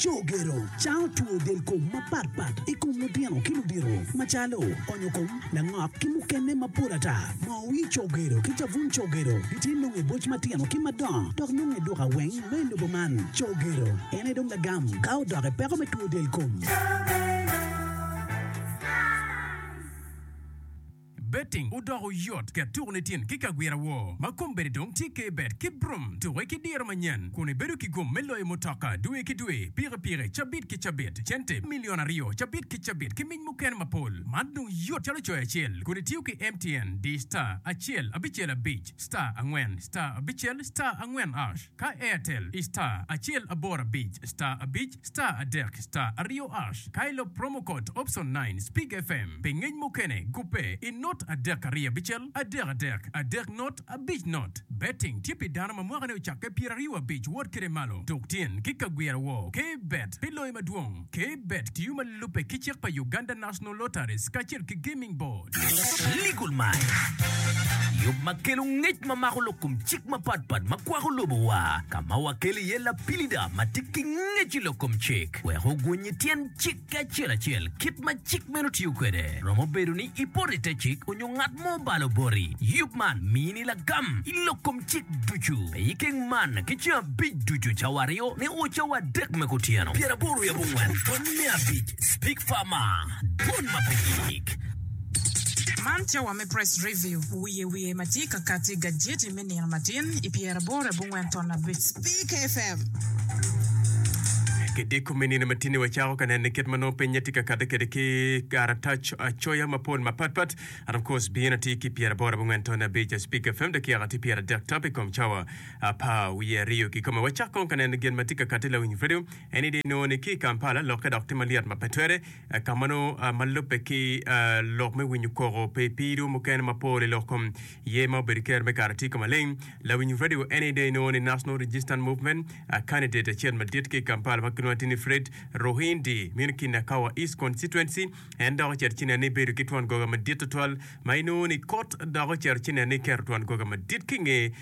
Cogero cango two del kom mapat pat i kom lutino ki ludito macalo onyo kom, langok ki mukene mapol ata. Moo wir cogero ki cabun cogero gitye nongo i boc matino ki madongo dok nongo i duka weng me i lobo man. Cogero en aye dong lagam ka odok i peko me two del kom. Betting odoko yot, ket tuko ni tin ki kagwira woo ma kombeddi dong tye K-Bet ki Brum. Tuke ki diro manyen kun ibedo ki gum me loyo mutoka dwe ki dwe, pikipiki cabit ki cabit, cente milion aryo cabit ki cabit ki mic mukene mapol. Man dong yot calo coyo acel kun itiyo ki MTN di star acel abicel abic star angwen star abicel star angwen ash ka Airtel i star acel aboro abic star abic Star adek star aryo ash ka ilub promo code option nine Speak FM pi ngec mukene gubbe i not adek aryo abicel adek adek adek not abic not. Betting tye pi dano ma mwaka ne ocakke pyeraryo abic wot kede malo. Tuk tyen ki kagwira woo K bet pi loyo madwong. K bet tiyo ma lubbe ki cik pa Uganda National Lotteries kacel ki Gaming Board. Legal Mind, Yub ma kelo ngec ma mako lok kom cik mapatpat ma kwako lobowa, ka ma wakelo iye lapilida ma tye ki ngec i lok kom cik wek ogwony i tyen cik ki acel acel kit ma cik meno tiyo kwede. Romo bedo ni ipoto i te cik onyo ngat mo obalo boti. Yub man mini lagam i lok kom cik ducu. Pe ikeng man ki ceng abic ducu cawa aryo nio cawa adek me kutyeno. Pyeraboro wiye abongwen pwony me abic Speak Farmer, Dwon ma pe gik. Man cawa me Press Review, wiye wiye ma tye ka kati i gajeti me nino matin i pyeraboro abongwen ton abic. Speak FM. Kidiko me nino matin-ni wacako ka neno kit ma nongo pinye tye ka kati kwede ki karatac acoya mapol mapatpat. And of course bino tye ki pyeraboro abongwen ton abic Speak FM dakika tye pyeradek tap i kom cawa apar wiye aryo kikome. Wacak kong ka neno gin ma tye ka kati lawiny radio. En aye inongo ni ki i Kampala lokke dok tye malyet ma pe twere. Ka ma nongo ma lubbe ki lok me winyo koko pi pido mukene mapol i lok kom ye ma obedo ker me kare tye ka maleng. Lawiny radio en aye dong inongo ni National Resistance Movement candidate acel madit ki i Kampala ma kilwongo atir ni Fred Ruhindi meno ki Nakawa East Constituency en dok ocito ci neno ni bedo ki twon goga madit tutwal ma inongo ni kot dok ocito ci neno ni keto twon goga madit ki nge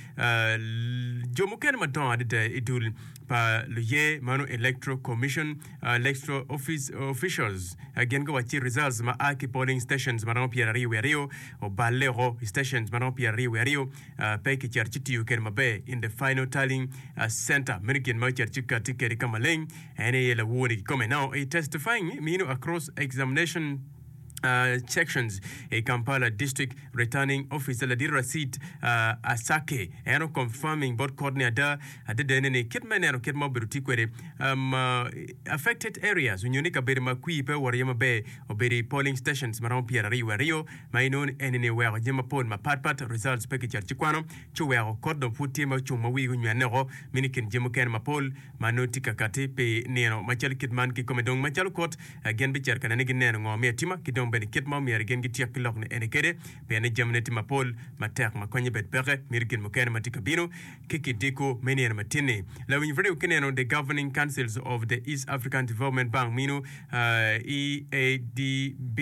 jo mukene madongo adada i dul pa luye mano Electoral Commission Electoral Office Officials gin guwacci results ma a ki polling stations ma romo 22 oballe oko i stations ma romo 22 pe kicito ci tiyo kwede maber in the final tallying center meno gin ma ocito ci kati kwede ka maleng en aye lawor-ni kikome now i testifying mino across examination sections i Kampala District Returning Officer ladit Racid Asake en o confirming bot court ni ada adada ni kit ma ineno kit ma obedo tye kwede affected areas onyo ni kabedo ma kwir pe owoto iye maber obedo i polling stations maromo 22 ma inongo ni eni-ni oweko jami mapol mapat pat results pe kicito ci kwano ci oweko court dong pud tye ma ocung ma wigi onywene oko mini kin jami mukene mapol ma nongo tye ka kati pi nino macalo kit man kikome dong macalo kot gin bicito ka nene gineno ngo me atima ki dong bene kit ma omyero gin gityek ki lok ni eni kede pien ni jamine tye mapol matek ma konye bed peke mito gin mukene ma tye ka bino ki kidiko me nino matin-ni. Lawiny radio ki neno The Governing Councils of the East African Development Bank mino EADB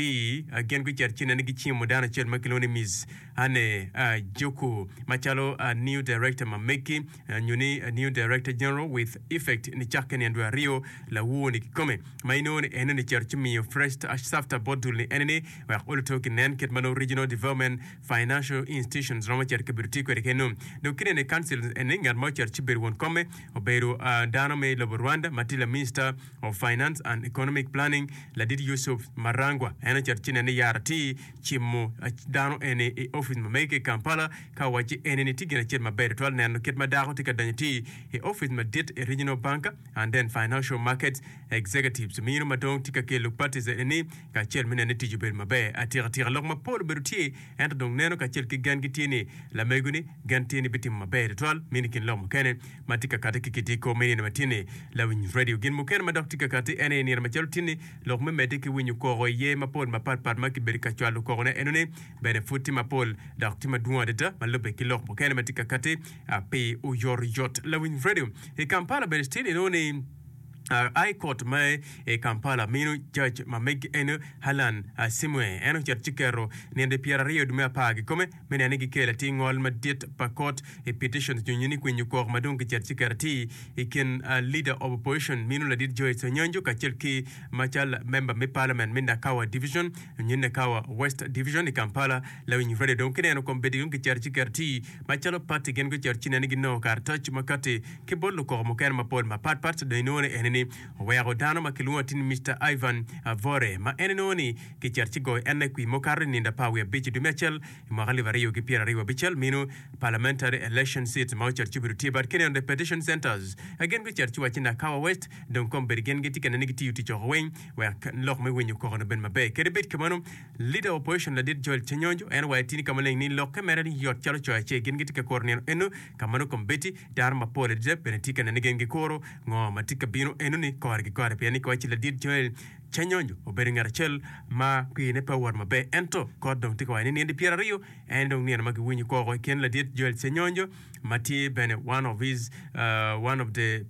gin gucito ci nene gicimo dano acel ma kilwongo ni Miss Anne Juku macalo new director ma megi nyo ni New Director General with effect nicakke nino dwe aryo lawur-ni kikome ma inongo ni eno ni cito ci miyo fresh safta bot dul ni ene ni wek oluto ki nen kit ma nongo Regional Development Financial Institutions romo cito kabedo tye kwede keno. Dong kinene i council eni ngat ma ocito ci bedo won komme obedo dano me lobo Rwanda ma tye la Minister of Finance and Economic Planning ladit Yusuf Marangwa en ocito ci nene yaro atir cimo dano eni i opic ma mege ki i Kampala ka owacci eni-ni tye gin acel maber tutwal neno kit ma dako tye ka donyo tye i opic madit i Regional Bank and then Financial Markets Executives mino ma dong tye ka kelo parties eni kacel me neno ni tic obedo maber atika tika. Lok mapol obedo tye ento dong neno kacel ki gen gitye ni lamego-ni gen tye ni bitimo maber tutwal mino i kin lok mukene ma tye ka kati ki kidiko me nino matin-ni. Lawiny radio gin mukene ma dok tye ka kati en aye nino macalo tin-ni Lok me medde ki winyo koko iye mapol mapat pat ma kibedo ka cwalo kokone enoni bene pud tye mapol dok tye madwong adada ma lubbe ki lok mukene ma tye ka kati pi oyotoyot. Lawiny Radio i Kampala bene still inongo ni. High Court ma i Kampala mino judge ma megi eno Allan Asimwe en ocito ci keto nino 20 dwe me apar kikome me neno ni gikelo atir ngol madit pa kot i petitions nyo ni kwinyo koko ma dong kicito ci keto atir i kin leader of opposition mino ladit Joyce Onyonjo kacel ki macal member me parliament me Nakawa division nyo Nakawa West division i Kampala lawiny radio dong kineno kombeddi dong kicito ci keto atir Macalo pati gin gucito ci nene ginongo karatac ma kati ki bot lukoko mukene mapol mapat pat. Dong inongo ni eni ni oweko dano ma kilwongo atir ni Mister Ivan Avore ma en inongo ni kicito ci goyo ene kwi mukato i nindo apar wiye abic i dwe me acel i mwaka alip aryo ki pyeraryo abicel mino Parliamentary Election Seats ma ocito ci obedo tye but kineno the petition centers gin gucito ci wacci Nakawa West dong kombeddi gin gitye ka nene gitiyo tic oko weng wek lok me winyo koko ni obed maber. Kadi bed kumeno Leader of Opposition ladit Joel Chenyonjo en owaco tye ni ka maleng ni lokke mere ni yot calo coyo acel gin gitye ka kuro nino eno ka ma nongo kombeddi dano mapol adada bene tye ka nene gin gikuro ngo ma tye ka bino eno ni kore ki kore pien ni kiwaco ladit Joel Chenyonjo obedo ngat acel ma kwine pe owoto maber ento kot dong tye ka waco ni nino 20 en dong nino ma giwinyo koko i kin ladit Joel Chenyonjo ma tye bene one of his one of the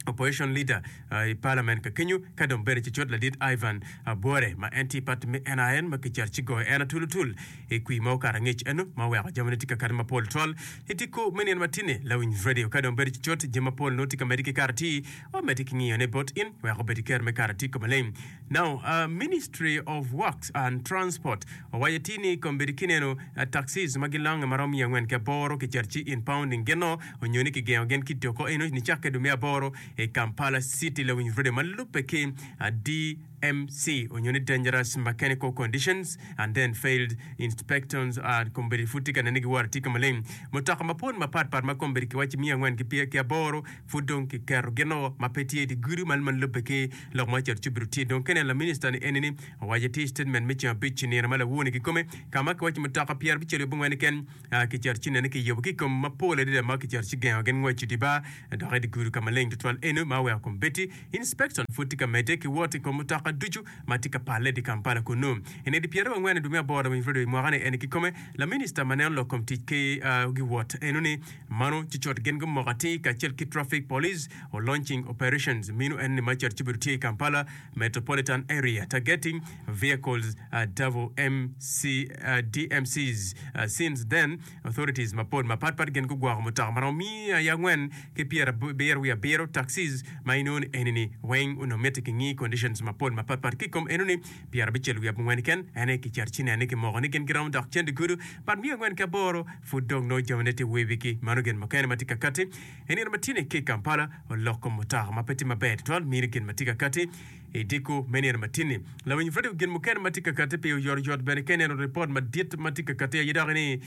Opposition leader i parliament ka kenyo ka dong bedo cucut ladit Ivan Bwore ma en tye i party me NRM ma kicito ci goyo en atul atul i kwir ma okato angec eno ma oweko jamine tye ka kati mapol twal i diko me nino matini lawiny radio ka dong bedo cucut jami mapol nongo tye ka medde ki kato atir wa medde ki ngiyo ne bot in wek obed ki kero me kato atir ka maleng. Now Ministry of Works and Transport owaco atir ni kombeddi kineno taxis ma gilonge marom miya angwen ki aboro kicito ci impounding gin o onyo ni kigengo gin ki doko eno nicakke dwe me aboro i Kampala City lawiny radio ma lubbe ki DMC onyo ni Dangerous Mechanical Conditions and then Failed Inspections kombeddi pud tye ka nene giworo atika maleng mutoka mapol mapat pat ma kombeddi kiwaco miya angwen ki aboro pud dong kiketo gin o ma pe tye i dye gudo man ma lubbe ki Lok ma ocito ci obedo tye dong kene laminista ni eni ni owaco atir i statement me ceng abic i nino ma lawor-ni kikome ka ma kiwaco mutoka pyerabicel ki abongwen keken kicito ci nene kiyubo ki i kom mapol adada ma kicito ci gengo gin ngwec i dye bar dok i dye gudo ka maleng tutwal eno ma oweko kombeddi inspection pud tye ka medde ki wot i kom mutoka ducu ma tye ka palle i dye Kampala kunnu. I nino pyeraryo angwen i dwe me aboro winyo radio i mwaka ni eni kikome laminista ma neno lok kom tic ki giwot eno ni Mano ci cut gin gumoko atir kacel ki Traffic Police o launching operations mino en ni ma cut ci obedo tye i Kampala Metropolitan Area targeting vehicles double MC, DMCs. Since then, authorities mapol mapat pat gin gugwoko mutoka maromo miya i angwen ki pyerabiro wiye abiro taxis ma inongo ni eni ni weng onongo mitte kingi conditions mapol mapat pat ki i kom eno ni pyerabicel wiye abongwen keken en aye kicito ci nene kimoko ni gin giromo dok cen digudu but miya angwen ki aboro Pud dong nongo jamine tye wibigi. Mano gin mukene ma tye ka katti i nino ma tye-ni ki i Kampala, oloko mutoka ma pe tye maber tutwal mini gin ma tye ka katti i diko me nino ma tye-ni. Lawiny redio gin mukene ma tye ka katti pi oyotoyot bene ka ineno ripot madit ma tye ka katti aye doki ni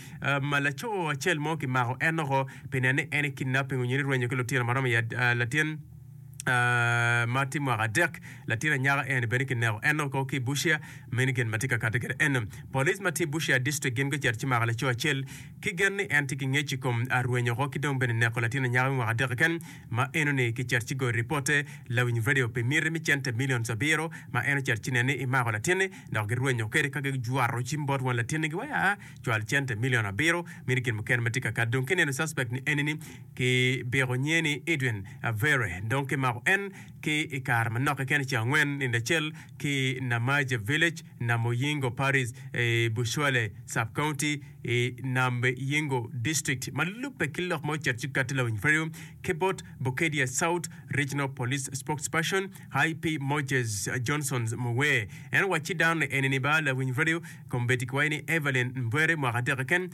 laco acel mo kimako en oko pi neno ni en i kidnapping onyo ni rwenyo ki lutino ma romo i latin ma tye mwaka adek. Latin anyaka eni bene kineko en oko ki i Busia. Meno gin ma tye ka kati kwede eno. Police ma tye i Busia District gin gucito ci mako laco acel ki gen ni en tye ki ngec i kom rwenyo oko ki dong bene neko latin anyaka me mwaka adek keken ma eno ni kicito ci goyo ripote lawiny radio pi miti me cente millions abiro ma en ocito ci nene ni imako latinni dok girwenyo kwede ka gijwato cim bot won latinni giwaco aa cwal cente million abiro meno gin mukene ma tye ka kati dong kineno suspect ni eni ni ki biko nyinge ni Edwin Avere dong kimako en ki i kare manok keken i ceng angwen nindo acel ki Namaje Village, Namuyingo Parish i Bushwale Sub-County i Namyingo District. Ma lubbe ki lok ma ocito ci katti lawiny radio ki bot Bukedea South Regional Police Spokesperson IP Moses Johnson Muwee en owacci dano ni eni-ni ba lawiny radio kombeddi kiwaco ni Evelyn Mbwere mwaka adek keken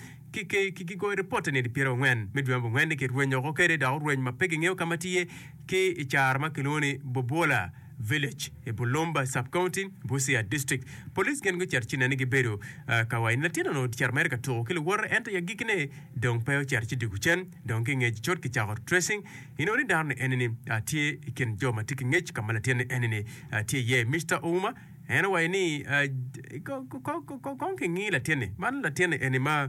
ki goyo ripote nino pyerangwen me dwe me abongwen ni kirwenyo oko kwede dok orweny ma pe kingeyo ka ma tye ki i caro ma kilwongo ni Bobwola Village i Bulumba Sub-County, Busia District. Police gin gucito ci nene gibedo ka waco ni latin onongo ocito mere ka tuko ki luwote ento i agikkine dong pe ocito ci dwogo cen. Dong ki ngec cut kicako tracing inongo ni dano ni enini tye i kin jo ma tye ki ngec ka ma latin ni enini tye iye. Mister Ouma en owaco ni kong kingi latin-ni man latin-ni eni ma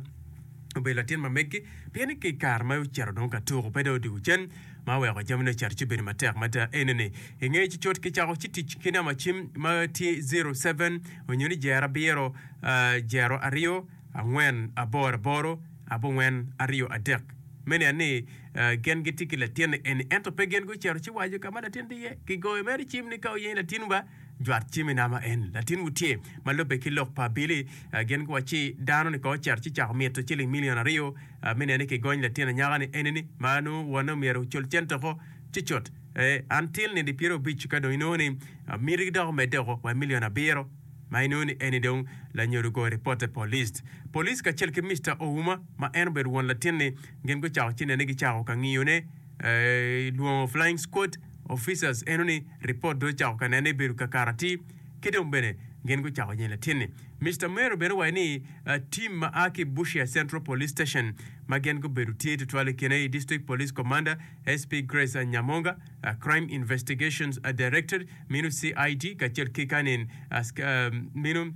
obedo latin ma meggi pien ni ki i kare ma ocito dong ka tuko pe dong odwogo cen. Ma oweko jamine ocito ci obedo matek mada enoni. I nge ci cut kicako ci tic ki namba cim ma tye 07 onyo ni jero abiro jero aryo angwen aboro aboro abongwen aryo adek. Me niang ni. Gin gitye ki latinni eni ento pe gin gucito ci waco ka ma latin tye iye. Kigoyo mere cim ni ka wuyenyo latinwu ba, jwat cim i namba eni. Latinwu tye. Ma lubbe ki lok pa abili, gin guwacci dano-ni kong ocito ci cako mito ciling milion aryo me neno ni kigony latin anyaka-ni eni-ni ma nongo wonne omyero ocul cente oko cucut. Until nino pyerabic ka dong inongo ni mitigi dok omedde oko wa i milion abiro. Ma inongo ni eni dong lanyodo ogoyo ripotte police. Police kacel ki Mister Ouma ma en obedo won latin-ni gin gucako ci nene gicako ka ngiyone lwongo flying squad officers eno ni ripot dong ocako ka nene bedo kakare atir ki dong bene gin gucako yenyo latin-ni. Mister Mero bene owaco ni team ma a ki Busia Central Police Station ma gin gubedo tye tutwal i kine i District Police Commander SP Grace Nyamonga, Crime Investigations Directorate meno CID kacel ki kanin meno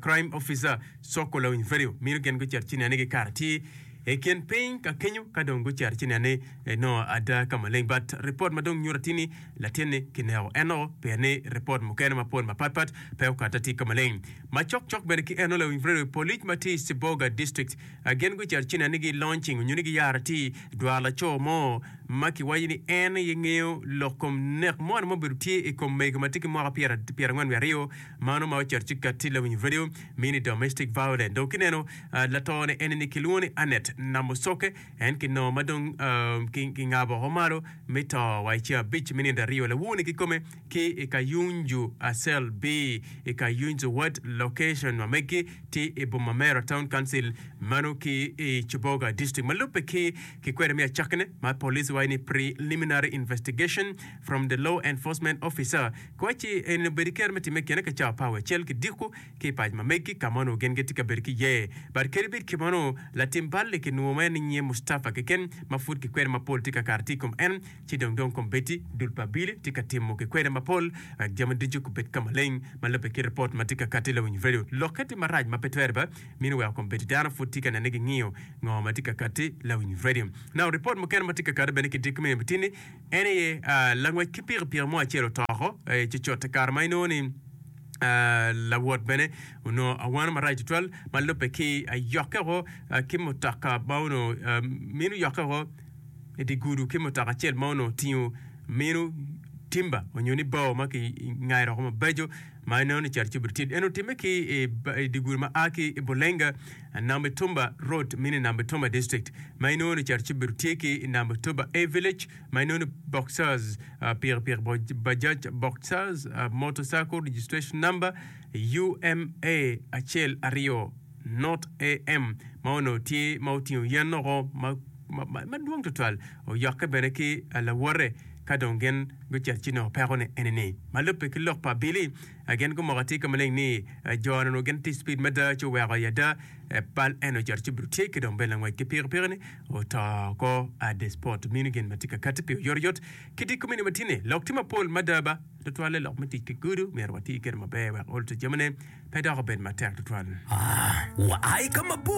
Crime Officer Soko Lawiny Verio meno gin gucito ci nene gikato atir i kin piny ka kenyo ka dong gucito ci nene nongo ada ka maleng but ripot ma dong nyuto atir ni latin-ni kineko en o pien ni ripot mukene mapol mapat pat pe okato atir ka maleng. Ma cok cok bene ki eno Lawiny Verio polic ma tye i Siboga District gin gucito ci nene gi launching onyo ni giyaro atir dwaro laco mo ma kiwaco ni en aye ngeyo lok kom nek moni ma obedo tye i kom mego ma tye ki mwaka 42 mano ma ocito ci katti lawiny radio mini domestic violence. Dong kineno lato ni eni ni kilwongo ni Annet Namusoke en kinongo ma dong kingabo oko malo me to wa i ceng abic me nino aryo lawur ni kikome ki i Kayunju Cell B i Kayunju Ward Location ma megi tye i boma Mera Town Council mano ki i Kiboga District. Ma lubbe ki kikwede me acakkine ma police waco ni preliminary investigation from the law enforcement officer kiwacci eni obedo ki kero me timme kine ka cawa apar wiye acel ki diko ki i pac ma megi ka ma onongo gin gitye ka bedo ki iye. But kadi bed kit meno latim bal-li kinwongo ma en ni nyinge Mustafa keken ma pud kikwede mapol tye ka kato tye i kom en ci dong dong kombeddi dul pa abili tye ka timo kikwede mapol wek jami ducu gubed ka maleng ma lubbe ki ripot ma tye ka kati lawiny radio. Lokke tye marac ma pe twere ba mino weko kombeddi dano pud tye ka nene gingiyo ngo ma tye ka kati lawiny radio. Now ripot mukene ma tye ka kati bene ki diko me tini en aye langwec ki pikipiki mo acel oto oko cucut i kare ma inongo ni lawot bene onongo awano marac tutwal ma lubbe ki ayokke oko ki mutoka ma onongo mino yokke oko i dye gudo ki mutoka acel ma onongo otingo mino timba onyo ni bao ma kingayo woko mabeco ma inongo ni cito ci obedo tye. En otimme ki i dye gudo ma a ki i Bulenga Nambitumba Road meno i Nambitumba District ma inongo ni cito ci obedo tye ki i Nambitumba A Village ma inongo ni Boxers pikipiki Bajaj Boxers Motorcycle Registration Number UMA acel aryo Not AM ma onongo tye ma otingo yen oko madwong tutwal oyokke bene ki lawote ka dong gin gucito ci nongo peko ni eni ni. Ma lubbe ki lok pa abili, gin gumoko atir ka maleng ni jo ni onongo gin tye speed mada ci oweko i ada bal en ocito ci obedo tye ki dong bene langwec ki pikipiki ni oto oko at the spot. Mino gin ma tye ka kati pi oyotoyot ki dye komini ma tye ni lok tye mapol mada ba tutwalle lok me tic ki gudo myero wati kwede maber wek ol to jamine pe dok obed matek tutwal. Waa i ka mabor.